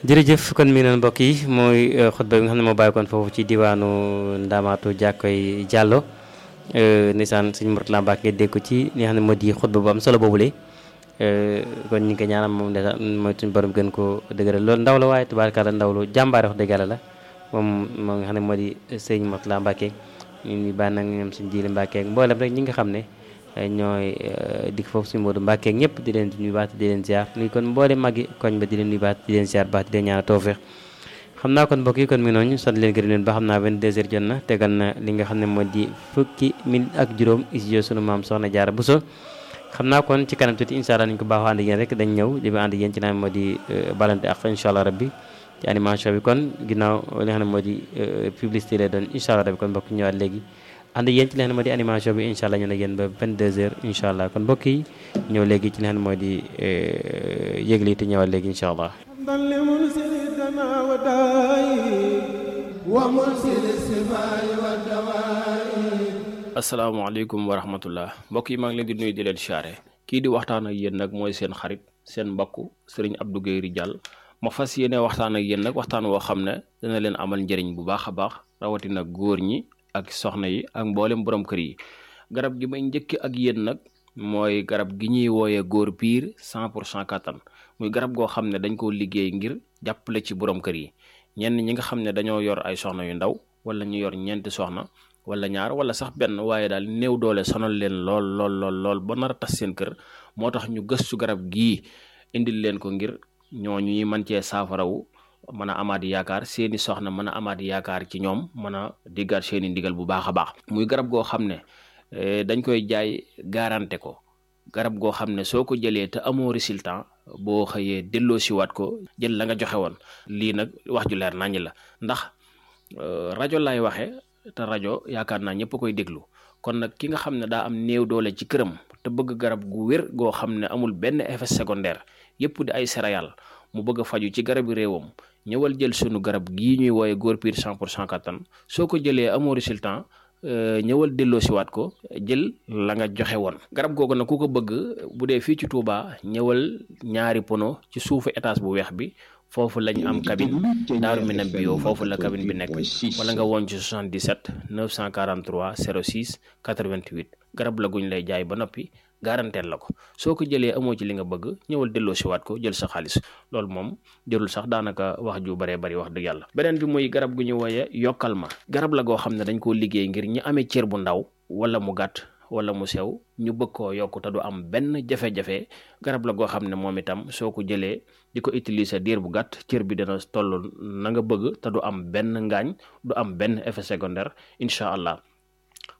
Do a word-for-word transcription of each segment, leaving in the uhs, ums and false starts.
jërëjëf kon mi noonu mbokk yi mooy xutba bi nga xam ne moo bàyyikoon foofu ci diwaanu Ndamatou Jàkkoy Jàllo nisaan sëñ Mourtala Mbacke nga dégg ko ci li nga xam ne moo di xutba bu am solo boobule kon ñu ngi ko ñaanal moom de mooy suñu borom gën ko dëgëral loolu ndaw la waaye tubaarkalla ndaw lu jàmbaare wax dëgg yàlla la moom moo nga xam ne moo di sëñ Mourtala Mbacke ñu ngi bàyyi nag ñoom suñu jiili Mbacke ak mboolem rek ñi nga xam ne ñooy dikk foofu suñu Modou Mbacke ñëpp di leen nuyu baax di leen ziar nuyu kon mboolem magi koñ ba di leen nuyu baax di leen ziar baax di leen ñaanal tawfeex xam naa kon mbokk yi kon mi noonu sant leen gërëm leen ba xam naa vingt-deux heures jot na tegal na li nga xam ne moo di fukki minute ak juróom studio sunu maam Soxna Jaara Buso xam naa kon ci kanam tuuti incha allah nañu ko baaxoo ànd ak yéen rek dañ ñëw di ànd ak yéen ci naan moo di balante ak incha allah rabbi ci animation bi kon ginnaaw li nga xam ne moo di publicité lay doon incha allah rabbi kon mbokk ñëwaat léegi ànd ak yéen ci li nga xam ne moo di animation bi incha allah ñu ne yéen ba vingt-deux heures incha allah kon mbokk yi ñëw léegi ci li nga xam ne moo di yëgle te ñëwaat léegi incha allah asalaamaaleykum wa rahmatullah mbokk yi maa ngi leen di nuyu di leen siyaare kii di waxtaan ak yéen nag mooy seen xarit seen mbokk sëriñ Abdou Guèye Ridial ma fas yéene waxtaan ak yéen nag waxtaan woo xam ne dana leen amal njëriñ bu baax a baax rawatina góor ñi ak soxna yi ak mboolem borom kër yi garab gi may njëkk ak yéen nag mooy garab gi ñuy wooyee góor piir cent pour cent kattan muy garab goo xam ne dañ koo liggéey ngir jàppale ci borom kër yi ñenn ñi nga xam ne dañoo yor ay soxna yu ndaw wala ñu yor ñeenti soxna wala ñaar wala sax benn waaye daal néew doole sonal leen lool lool lool lool ba nar a tas seen kër moo tax ñu gëstu garab gii indil leen ko ngir ñooñu ñuy mën cee saafarawu mën a amaat yaakaar seeni soxna mën a amaat yaakaar ci ñoom mën a diggaat seeni ndigal bu baax a baax muy garab goo xam ne dañ koy jaay garanté ko garab goo xam ne soo ko jëlee te amoo résultat boo xëyee delloo siwaat ko jël la nga joxe woon lii nag wax ju leer naññ la ndax rajo lay waxe te rajo yaakaar naa ñëpp koy déglu kon nag ki nga xam ne daa am néew doole ci këram te bëgg garab gu wér goo xam ne amul benn effet secondaire yëpp di ay céréales mu bëgg a faju ci garabi réewam ñëwal jël sunu garab gii ñuy wooye góor piir cent pour cent kattan soo ko jëlee amoo résultat ñëwal delloo siwaat ko jël la nga joxe woon garab googu nag ku ko bëgg bu dee fii ci Touba ñëwal ñaari pono ci suufu étage bu weex bi foofu lañu am cabine Daaru Minam bio foofu la cabine bi nekk wala nga woon ci soixante-dix-sept neuf cent quarante-trois zéro six quatre-vingt-huit garab la guñ lay jaay ba noppi garanteel la ko soo ko jëlee amoo ci li nga bëgg ñëwal delloo siwaat ko jël sa xaalis loolu moom jërul sax daanaka wax ju baree bari wax dëgg yàlla beneen bi muy garab gu ñu wooye yokkal ma garab la goo xam ne dañ koo liggéey ngir ñi amee cër bu ndaw wala mu gàtt wala mu sew ñu bëgg koo yokk te du am benn jafe-jafe garab la goo xam ne moom itam soo ko jëlee di ko utiliser diir bu gàtt cër bi dana toll na nga bëgg te du am benn ngaañ du am benn effet secondaire incha allah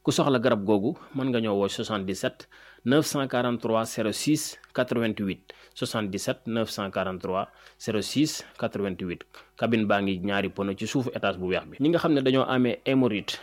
ku soxla garab googu mën nga ñëw woo soixante-dix-sept neuf cent quarante-trois zéro six quatre-vingt-huit soixante-dix-sept neuf cent quarante-trois zéro six quatre-vingt-huit cabine baa ngi ñaari pono ci suufu étage bu weex bi ñi nga xam ne dañoo amee hémorroïde